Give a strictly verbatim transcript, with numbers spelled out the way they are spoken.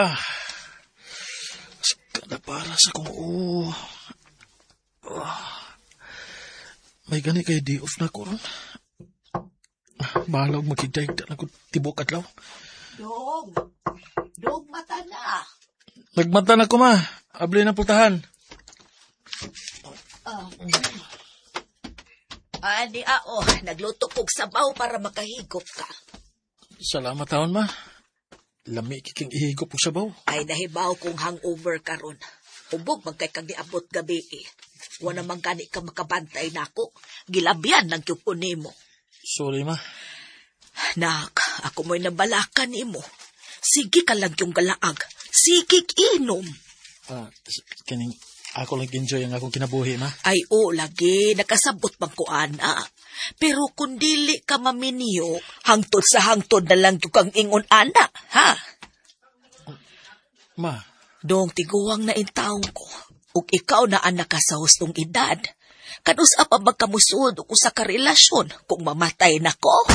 Ah. Kada para sa kong ulo. Ah. May gani kay day off na ko ron. Ah, bahala og makigdahigda na ko tibok adlaw. Dong! Dong, mata na. Nagmata na ko ma. Abli na pultahan. Ah. Ani, ao, nagluto kog sabaw para makahigop ka. Salamat taon ma. Lami kiking ihigop og sabaw. Ay, nahibaw kong hangover karon. Hubog man kay kang niabot gabi eh. Wala man gani ka makabantay nako. Gilabyan lang gyud ko nimo. Sorry ma. Nak, ako mo'y nabalakan nimo. Sige ka lang yung galaag. Sige inom. Ah, s- kining ako lang enjoy ang akong kinabuhi ma. Ay, o, lagi, nakasabot man ko, ana. Pero kung dili ka maminyo, hangtod sa hangtod na lang yung kang ingon, ana, ha? Ma, Dong tiguang na intawon ko. Ug ikaw na anak ka sa hustong edad. Kanus-a pa magkamusod og usa ka relasyon kung mamatay na ko?